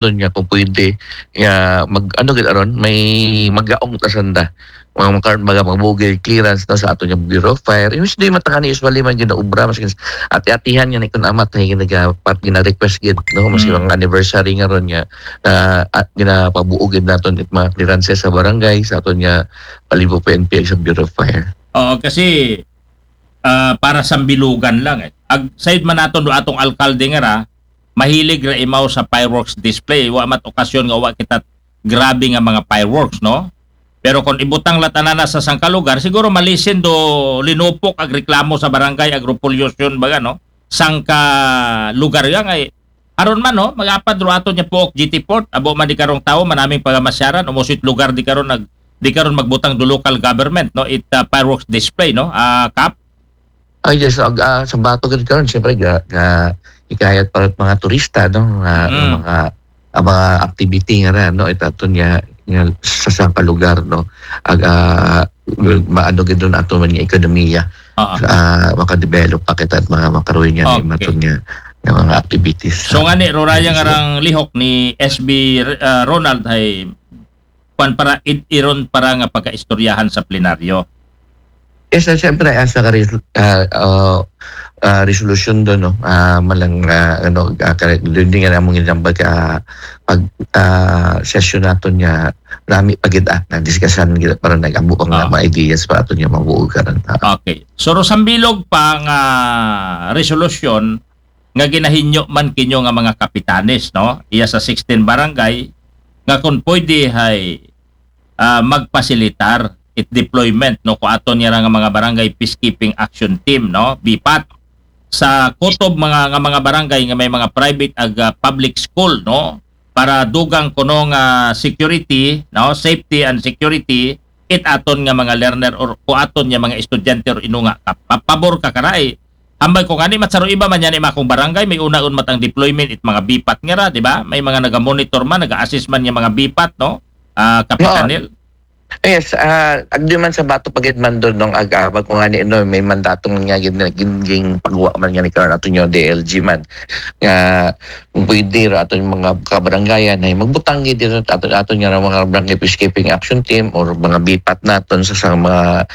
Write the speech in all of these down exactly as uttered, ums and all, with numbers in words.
nga kung pwede, nga mag-, ano gid aron, may magaong ta sanda. Mga, mga karon, mga, mga bugil clearance na sa aton nga Bureau of Fire. Yung hindi matangani usually man ginaobra, mas gins-, ati-atihan nga ni kun amat nga ginaga-, pat-, gina-request gid, no? Mas Mm. mga anniversary nga ron nga, ah, at ginapabuo gid naton it mga clearances sa barangay, sa aton nga Palibo P N P ag sa Bureau of Fire. Oo, kasi, ah, para sa Bilugan lang eh. Ag, said man naton do atong alkalde nga ra, mahilig ra imaw sa fireworks display. Wa mat okasyon nga wa kita grabe nga mga fireworks, no? Pero kung ibutang la tanan na sa sangka lugar, siguro malisin do linupok ag reklamo sa barangay, ag repollution, baga, no? Sangka lugar ya nga, eh. Aron man, no? Mag-apad ro aton nga puok G T Port. Abo man di karong tawo, manaming pagamasyaran, umusit lugar di karon nag-, di karon magbutang do local government, no? It, uh, fireworks display, no? Ah, Kap? Ay, yes, ag-, ah, sa Bato gid karon, siyempre, ga-, ga-, ikayat para mga turista, no? Nga, Mm. mga, ang mga activity nga ra, no? Ito aton nga, nga sa sangka lugar, no? Ag-, ah, maano gid doon ato man nga ekonomiya. Oo. Ah, makadevelop pa kita at mga makaroon nga ni Okay. maton nga, nga mga activities. So, nga ni, Roraya nga Yes, sir. rang lihok ni S B, ah, Ronald ay kwan para, id-, iron para nga pagkaistoryahan sa plenaryo. Yes, sir. Siyempre, ah, sa ka-, res-, ah, ah, ah, resolution doon, no? Ah, malang, ah, ano, ah, kare-, doon din nga namang ginambag, ah, pag, ah, session naton nga nami pa gid, ah, nagdiskasan gid para nag-amo ang Ah. mga ideas pa aton nga mabuo karon, ah. Okay. So, ro sambilog pa nga resolution, nga ginahinyo man kinyo nga mga kapitanes, no? Iya sa sixteen barangay nga kung pwede hay, ah, magpasilitar it deployment, no, ko aton niya nga mga barangay peacekeeping action team, no, BPAT, sa kutob mga, nga mga barangay nga may mga private ag, ah, public school, no, para dugang kuno nga security, no, safety and security, it aton nga mga learner or ko aton nga mga estudyante or inunga ka. Pa-, pabor ka karay. Ambay ko gani, matsaro iba man yan, ima akong barangay, may unaon mat ang deployment it mga BPAT nga ra, di ba? May mga naga-monitor man, naga-assist man nga mga BPAT, no? Ah, Kapitan Oo. Nel? Yes, ah, agdi man sa Bato pa gid man doon nung ag-, ah, ko gani, no, may mandato man nga gin-, gin-, gin-, pagwa man nga ni karon ato nyo D L G man. Nga pwede ra ato yung mga kabaranggayan ay magbutang gid dito ato, ato nga mga barangay peacekeeping action team or mga BPAT naton sa, sa mga,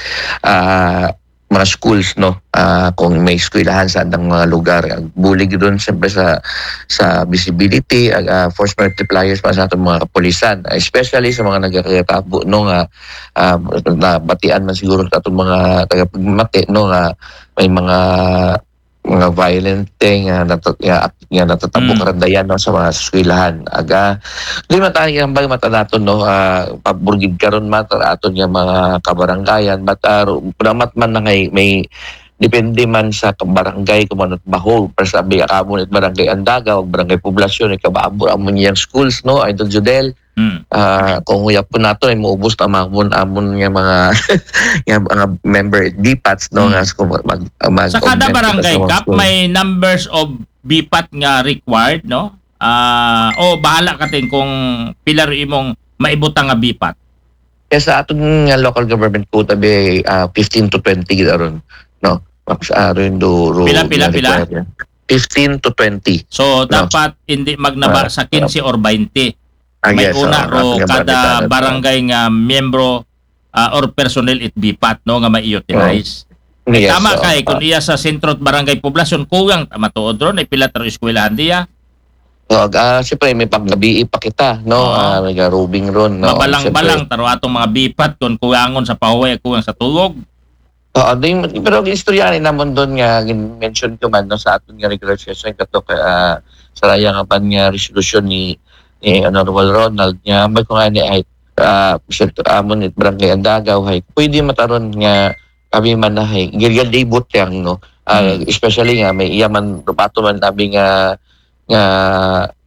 ah, mga schools, no? Ah, kung may eskwelahan sa andang mga lugar, ang bulig doon siyempre sa, sa visibility, ah, ah, force multipliers pa sa atong mga kapulisan, especially sa mga nagkakatabo, no, nga, ah, nabatian man siguro sa atong mga tagapagmati, no, nga may mga, mga violent thing nga nata-, nga, nga natatabo Mm. karon dayan, no, sa mga eskwelahan. Aga, di man tayo ang bay mata naton, no, ah, pabor gid karon man aton nga mga kabaranggayan, but, ah, ru-, damat man na ngay may depende man sa barangay kung ano baho, pero sabi, amo ni barangay Andagaw, barangay Poblacion, ikababo amo niyang schools, no, Idol Judel. Mm. Ah, kung huyapon nato ay maubos na amon, amon nga mga, nga mga member BPATs, no, Mm. nga sa mag, mag, Sa kada mag-, barangay, sa mga Kap, school. May numbers of BPAT nga required, no? Ah, o bahala ka, Ting, kung pila ro imong maibutang nga BPAT. Kaya sa aton nga local government quota, be, ah, fifteen to twenty gid aron, no? Mas aron do, ro, Pila, pila, nga pila? required. Fifteen to twenty. So, No. dapat hindi magnaba Ah, sa quince or bainte. Ah, May yes, una ah, ro aton nga kada barangay, no? barangay nga miyembro, ah, or personnel it BPAT, no, nga ma-utilize. Oo. Ay, Yes, tama oo, kay, kung ah. iya sa sentro at barangay poblasyon, kuwang, matuod ron, ay pila taro eskwelahan diya. So, ah, siyempre, may panggabi pa kita, no? Oo. Ah, may roving ron, no? Mabalang-balang, Siyempre. taro atong mga BPAT, kung kuwangon sa pahuway, kuwang sa tulog. Oo, di, pero istorya rin naman doon nga, gin-, mention ko man, no, sa aton nga regular session, kato, ah, sa raya nga pan nga resolusyon ni, ni Honorable Ronald, nga, may ko nga ni, ay, ah, Mister T-, amon, it Barangay Andagaw, hay, pwede mataron nga kami man na, hay, gilgal di butang, no? Ah, Mm. especially nga, may iya man, rupato man, abi nga, nga,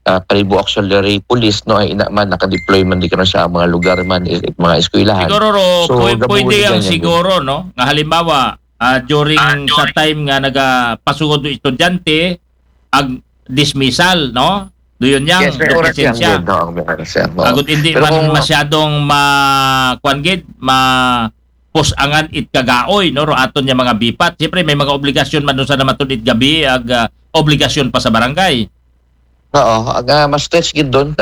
ah, Kalibo Auxiliary Police, no, ay ina man, naka-deploy man di ka na sa mga lugar man, i-, mga eskwelahan. Siguro, ro, So, pwe-, gabulig pwede ang yan, yan. siguro, no? Nga halimbawa, ah, during Ah, sa during time nga nagapasugod do estudyante, ag dismissal, no? Do yun yang, Yes, may do oras yan, presensya. yun, no, may oras yan, oo. Agud hindi Pero man kung masyadong ma-, kuwan gid, ma-, pusangan it kagaoy, no? Ro aton nga mga BPAT. Siyempre, may mga obligasyon man dun sa namatud it gabi, ag, ah, obligasyon pa sa barangay. Oo, ag, ah, ma-stretch gid dun.